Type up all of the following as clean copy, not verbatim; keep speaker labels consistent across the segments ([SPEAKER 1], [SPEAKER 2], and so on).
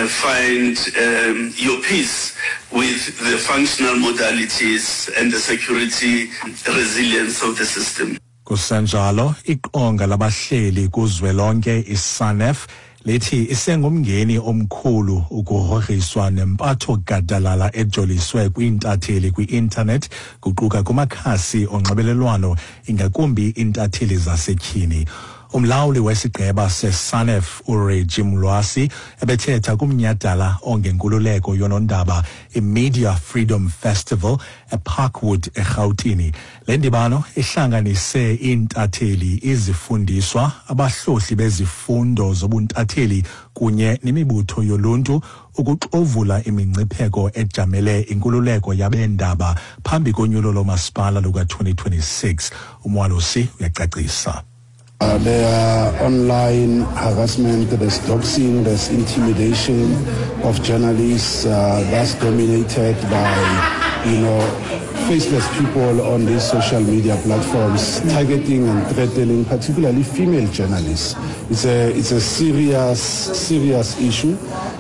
[SPEAKER 1] uh, find um, your peace with the functional modalities and the security resilience of the system.
[SPEAKER 2] Kusenjalo, iqonga labahleli kuzwelonke iSANEF lithi isengumngeni omkhulu ukugrogriswa nempatho gadalala ejoliswe kwiintatheli kwi-intanethi kuquka kumakhasi onxibelelwano ingakumbi iintatheli zasetyhini. Umlawuli wesigqeba seSANEF uReggie Mlwasi ebethetha kumnyhadala ongenkululeko yonondaba iMedia Freedom Festival eParkwood eRhawutini. Le ndibano ihlanganise iintatheli, izifundiswa, abahlohli bezifundo zobuntatheli kunye nemibutho yoluntu ukuxovula imingcipheko ejamele inkululeko yabeendaba phambi konyulo lomasipala luka-2026. UMwalosi uyacacisa.
[SPEAKER 3] Uh, there are online harassment, there's doxing, there's intimidation of journalists uh, that's dominated by, you know, faceless people on these social media platforms targeting and threatening particularly female journalists. It's a, it's a serious, serious issue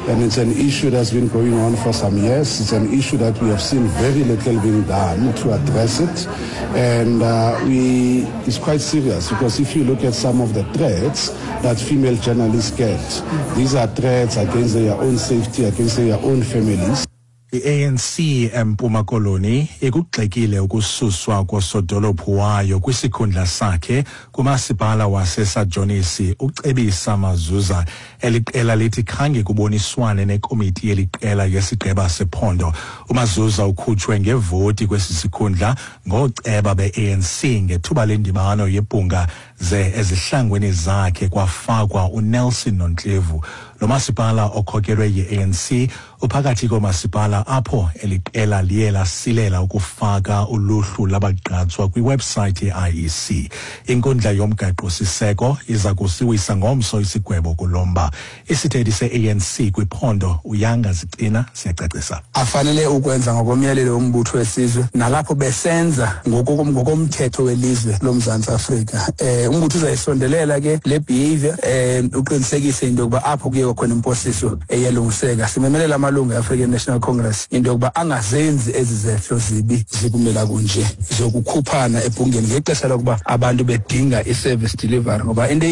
[SPEAKER 3] and it's an issue that's been going on for some years. It's an issue that we have seen very little being done to address it. And uh, we, it's quite serious because if you look at some of the threats that female journalists get, these are threats against their own safety, against their own families.
[SPEAKER 2] I-ANC eMpuma Koloni ikugxekile ukususwa kosodolophu wayo kwisikhundla sakhe kumasipala waseSajonisi uCebisa Mazuza. Eli qela lithi khange kuboniswane nekomiti yeli qela yesigqeba sephondo. UMazuza ukhutshwe ngevoti kwesi sikhundla ngooceba be-ANC ngethuba lendibano yebhunga ze ezihlangwini zakhe kwafakwa uNelson Nontlevu. Lo masipala okhokelwe yi-ANC uphakathi koomasipala apho eli qela liye lasilela ukufaka uluhlu labagqatswa kwiwebsayithi ye-IEC. Inkundla yomgaqo-siseko iza kusiwisa ngomso isigwebo kulo mba. Isithethi se-ANC kwiphondo uYanga Zicina siyacacisa.
[SPEAKER 4] Afanele ukwenza ngokomyalelo wombutho wesizwe nalapho besenza ngokomthetho welizwe loMzantsi Afrika. Um umbutho uzayisondelela ke le behavior um uqinisekise into yokuba apho kuye kwakhona imposiso eyalungiseka. Simemelela amalungu e-African National Congress into yokuba angazenzi ezi zehlo zibi zikumela kunje zokukhuphana ebhungeni ngexesha lokuba abantu bedinga i-service delivery ngoba into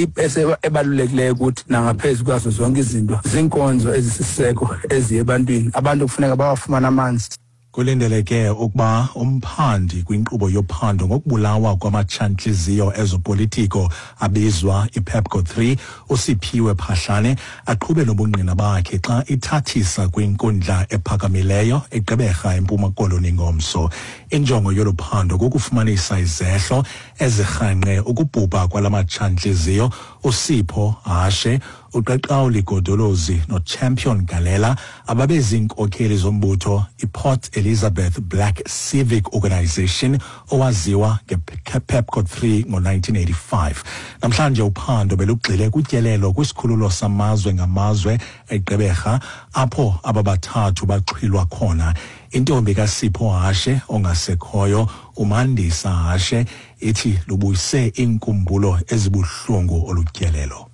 [SPEAKER 4] ebalulekileyo ukuthi nangaphezu kwazo zonke izinto ziinkonzo ezisisiseko eziye ebantwini abantu kufuneka bawafumane amanzi.
[SPEAKER 2] Kulindeleke ukuba umphandi kwinkqubo yophando ngokubulawa kwamatshantliziyo ezopolitiko abizwa iPepco 3 uSiphiwe Phahlane aqhube nobungqina bakhe xa ithathisa kwinkundla ephakamileyo eGqeberha eMpuma Koloni ngomso. Injongo yolu phando kukufumanisa izehlo ezirhangqe ukubhubha kwala matshantliziyo uSipho Hashe, uQaqawuli Godolozi noChampion Galela ababeziinkokheli zombutho iPort Elizabeth Black Civic Organisation owaziwa ngePepco 3 ngo-1985. Namhlanje uphando belugxile kutyelelo kwisikhululo samazwe ngamazwe eGqeberha apho aba bathathu baxhwilwa khona. Intombi kaSipho Hashe ongasekhoyo uMandisa Hashe ithi lubuyise iinkumbulo ezibuhlungu olu tyelelo.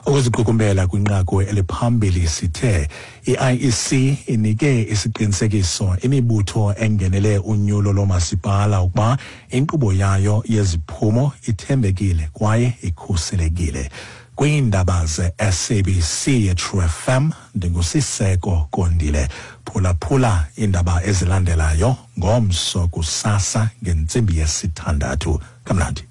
[SPEAKER 2] Ukuziqukumbela kwinqaku eliphambili sithe i-IEC inike isiqinisekiso imibutho engenele unyulo loomasipala ukuba inkqubo yayo yeziphumo ithembekile kwaye ikhuselekile. Kwiindaba ze-SABC yeTrue FM ndinguSiseko Kondile. Phulaphula iindaba ezilandelayo ngomso kusasa ngentsimbi yesithandathu. Kamnandi.